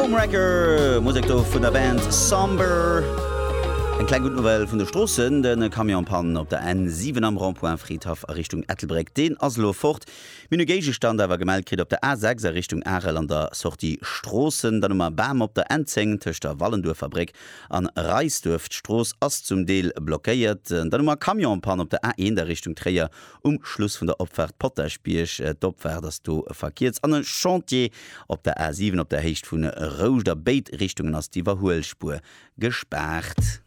Homewrecker, Musek do vun der Band Somber. Eng kleng gutt Nouvelle vun de Stroossen, De Camion en panne op der N7 am Rond-point Fridhaff a Richtung Ettelbréck, deen ass elo fort. Mir hunn e Géigestand awer gemellt kritt op der A6 a Richtung Arel an der Sortie Stroossen. Dann hu mer e Bam op der N10 tëscht der Wallenduerfer Bréck an Reisduerf. D'Strooss ass zum Deel blockéiert. Dann hu mer e Camion en panne op der A1 a Richtung Tréier Um Schluss vun der Opfaart Potaschbierg, d'Opfaart ass do verkierzt, an e Chantier op der A 7 op der Héicht vun Rouscht. A béid Richtungen ass d'Iwwerhuelspuer gespaart.